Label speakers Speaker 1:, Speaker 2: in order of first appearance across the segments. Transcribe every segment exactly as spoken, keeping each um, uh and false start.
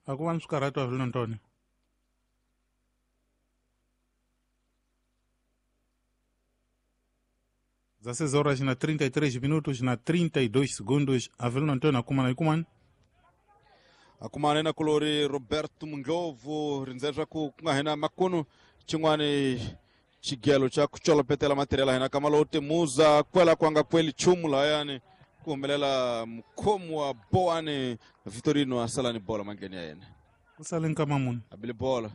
Speaker 1: A ku va ni swikarhato Avelino Antonio. dezesseis horas na trinta e três minutos na trinta e dois segundos. Avelino Antonio akumana ikumani.
Speaker 2: Akumana na kulori Roberto Munglovo rindzela ku ku nga hina makunu xin'wani xigelo xa ku colopetela material hina kamalo u timuza kwela kwanga kweli chumu lahayani ku humelela mukhomi wa Boane Vitorino a sala ni bola mandleni ya yena.
Speaker 1: Ku sale nkama muni
Speaker 2: abile bola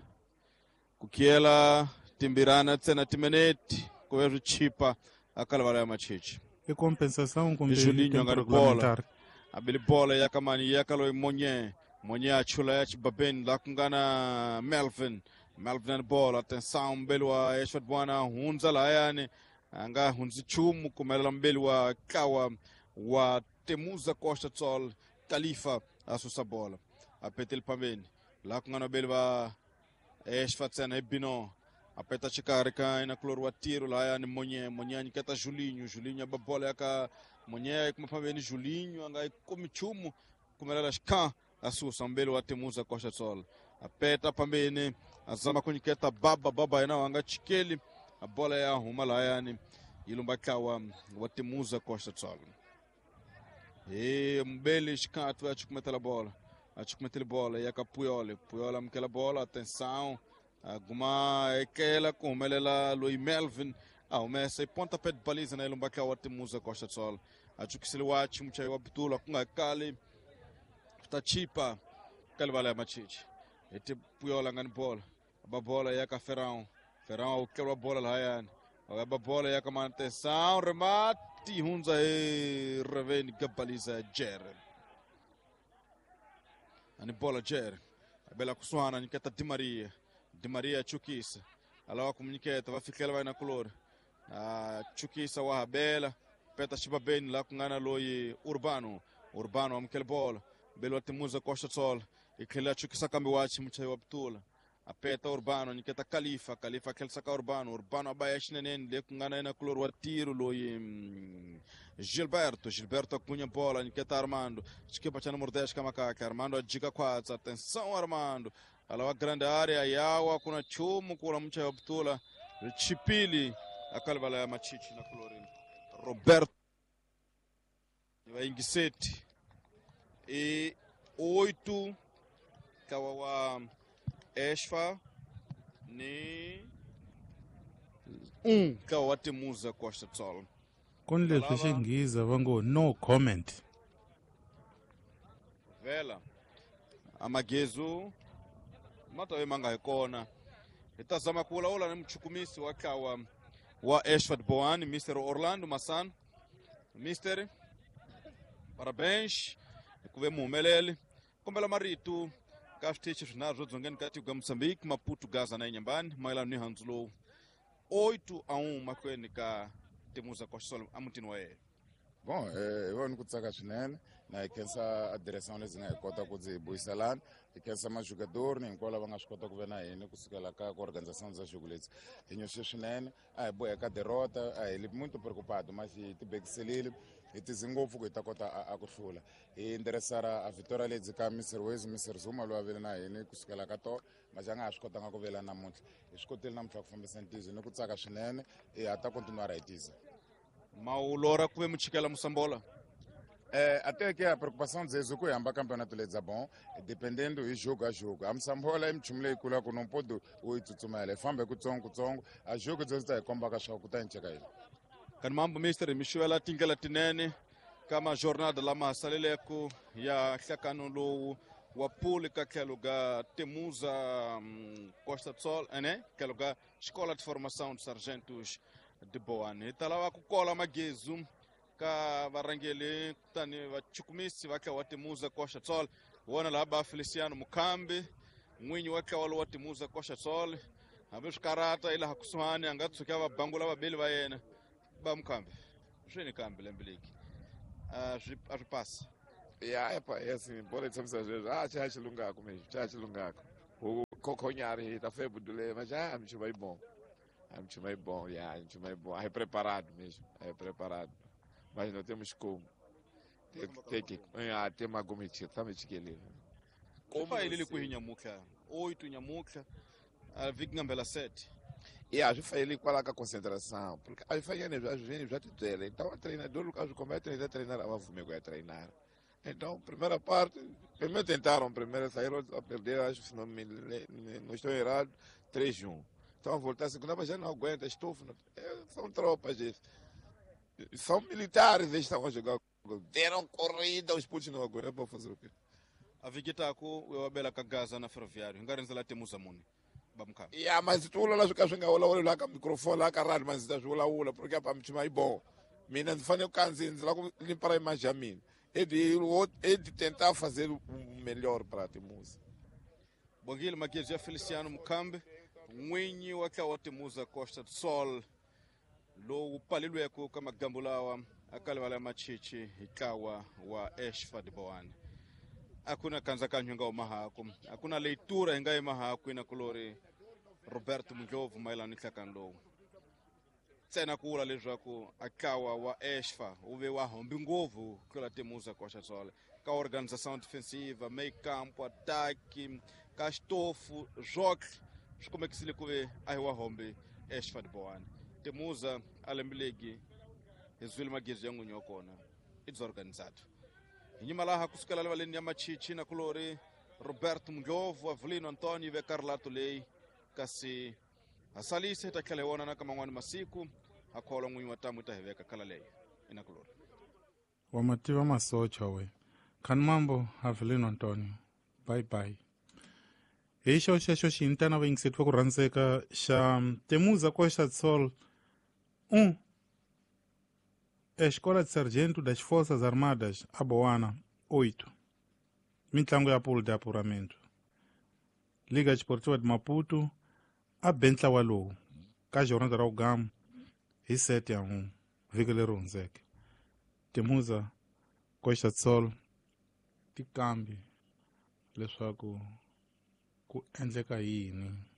Speaker 2: ku khiyela timbirana ntsena timinete ku ve swi chipa a kalavala ya machichi
Speaker 1: i compensação kumbe
Speaker 2: Julinho nga ri bola abile bola ya kamani ya kaloyi Monye Monye a chula ya xibabeni la ku nga na Melvin Melvin ni bola atenção mbeli wa Eshwat Bwana hundza lahayani a nga hundzi nchumu kumelela mbeli wa Kawa wa Temuza Costa Tsol Khalifa a susa bola a petele pambeni la ku nga na mbeli va Eshwat tsena hi Bino a peta xikarhi ka ina kulori wa tiro lahayani Monye Monye a nyiketa Julinho Julinho a ba bola ya ka Monye a yi kuma pambeni Julinho a nga yi kumi nchumu kumelela xikha a susa mbeli wa Temuza Costa Tsol a peta pambeni a zama ku nyiketa baba baba yena wa nga chikeli a bola ya huma lahayani yi lumba tlawa wa Temuza Costa Tsol e mbeli xikhathu a chukumetela bola a chukumetela bola ya ka Puyol Puyol amukela bola atenção aguma ekela ku humelela loyi Melvin a humesa i pontapé de baliza na ilumba tlawa wa Temuza Costa Tsol a chukiseliwa wachi muchayi wa bitula ku nga kali ta chipa ka livala ya machichi ete Puyol a nga ni bola ba bola ya ka Ferrão Ferrão a kelwa bola lahayani ba bola ya ka manutenção remate hundza hi reveni ka baliza ya Jere ani bola Jere abela kusuhana nyiketa Di Maria Di Maria chukisa alawa kumnyiketa va fikela va na kulori a chukisa wa habela peta xibabeni la ku nga na loyi Urbano Urbano amukela bola mbeli wa Temuza Costa Tsol i tlhela chukisa kambe wachi muchayi wa bitula a peta Urbano nyiketa Khalifa Khalifa tlhelisa ka Urbano Urbano a ba ya xineneni le ku nga na yena kulori wa tiro loyi Gilberto Gilberto a kunya bola nyiketa Armando xikipa xa numero dez ka makaka Armando a jika khwatsa atenção Armando alawa grande área yawa kuna chumu kula muchayi wa bitula chipili akalivala ya machichi na kulori Roberto vayingiseti e oito kawa wa Esfa ni um kawa wa Temuza Costa Tsol
Speaker 1: ku ni leswi xinghiza va ngo no comment
Speaker 2: vela amagezu ma ta ve ma nga hi kona hi ta zama ku vulavula ni muchukumisi wa tlawa wa Eshwat Boane Mister Orlando Massano Mister parabéns ku ve muhumeleli kombela marito ka switichi swinharhu swo dzongeni ka tiko ya Moçambique Maputo Gaza na Inhambane mayelana ni handzu lowu oito a um mahlweni ka Temuza Costa Tsol emutini wa yena.
Speaker 3: Bom, hi vona ku tsaka swinene na hi khensa a direção lebyi nga hi kota ku ndzi hi buyiselana hi khensa majogador ni hinkwavo lava nga swi kota ku ve na hina kusukela ka ku organização bya jogo lebyi hi nyoxe swinene a hi boheka derrota a hi li muito preocupado mas hi tibekiselile hi tize ngopfu ku hi ta kota a ku hlula hi nderesara a vitória lebyi ka Mister Wezi Mister Zuma loyi a vele na hina kusukela ka tolo mas a nga ha swi kotanga ku vela namuntlha hi swi kotile namuntlha ku fambisa ntizo ni ku tsaka swinene hi ha ta continuar hi tiza.
Speaker 2: Maulora ku ve muchikela Moçambola
Speaker 3: Eh, até que a preocupação deles é que o campeonato lhes é bom, dependendo do jogo a jogo. A Moçambola é muito legal, que não pode o tsutsumela, famba kutsongo kutsongo, a jogo deles tá komba ka swa ku ta nceka yini.
Speaker 2: Kan mambo mister Michuela tingela tinene kama jornada lama saleleko ya hlakano lowu wa pool ka tlhelo ga Temuza um, Costa Tsol, né? Tlhelo ga Escola de Formação de Sargentos de Boane. Hi ta lava ku kola magezu ka varhangeli kutani vachukumisi va tlawa wa Temuza Costa Tsol wona laha ba Feliciano Mukhambi n'winyi wa tlawa lowa Temuza Costa Tsol hambi swikarata ilaha kusuhani a nga tshuki a va bangula vabeli va yena ba Mukhambi swi ni kambe lembe leki a swi a swi pasi
Speaker 4: ya epa yes bola yi tshamisa sweswo a xa xilungako mesmo xa xilungako khokhonyari hi ta febudule mas ah mchuma yi bom a mchuma yi bom ya mchuma yi bom é preparado mesmo é preparado mas não temos como tem que ah tem uma gomiti também chiquele
Speaker 2: Como ele ku nyamutlha oito nyamutlha a vhiki ngambela sete.
Speaker 4: E a gente ele qual a concentração, porque a gente faz já já te dele. Então o treinador o como é treinar, treinar, a fume é treinar. Então, primeira parte, primeiro tentaram, primeiro saíram a perder, acho que se não me não estou errado, três a um. Então voltar a segunda, mas já não aguenta, estufo, é, são tropas, gente. São militares, eles estão a jogar. Deram corrida, os putos não aguentam para fazer o quê?
Speaker 2: A vigitako eu abela kagaza na ferroviário, ngarenza temuza muni.
Speaker 4: Yeah, mas tu lá jogar jogar lá lá com microfone lá caralho, mas tá jogar lá porque para me chamar bom. Mina não faz o canzinho lá limpar a imagem a mim. É de é de tentar fazer o melhor para a Temuza.
Speaker 2: Bom, Maguia Feliciano Mukambe, n'winyi wa tlawa Temuza Costa do Sol, lowu palilweke ka magambu lawa a kalivala ya machichi hi ntlawa wa Eshfa de Boane. A ku na kandzhakanyo hi nga huma haku, a ku na leitura hi nga yima haku ina kulori Roberto Mundlovu mayelana ni nhlakano lowu. Ntsena ku vula leswaku a ntlawa wa Eshfa wu ve wa hombi ngopfu ku tlula Temuza Costa do Sol ka organização defensiva, meio campo, ataque, ka xitofu, swotlhe swi kumekisile ku ve a hi wa hombi Eshfa de Boane. Temuza a lembe legi hi zwile magezi ya n'winyi wa kona i desorganizado. Hi nyima laha kusukela rivaleni ya machichi na kulori Roberto Mundlovu, Avelino Antonio veka rilato leyi kasi hasalise hi ta tlhela hi vonana ka man'wani masiku ha kholwa n'winyi wa tamu ta hi veka khala leyo ina kulori.
Speaker 1: Wa mativa masocha we khani mambo Avelino Antonio, bye bye. Hi xo xexo xintana va yingisetiwa ku rhandzeka xa Temuza Costa do Sol um Escola de Sargento das Forças Armadas, Aboana, oito. Mintlango ya pulo de apuramento. Liga Desportiva de Maputo, a be ntlawa lowu ka jornada ra Ugamu hi sete ya um vhiki leri hundzeke. Temuza Costa do Sol ti kambi leswaku ku endleka yini.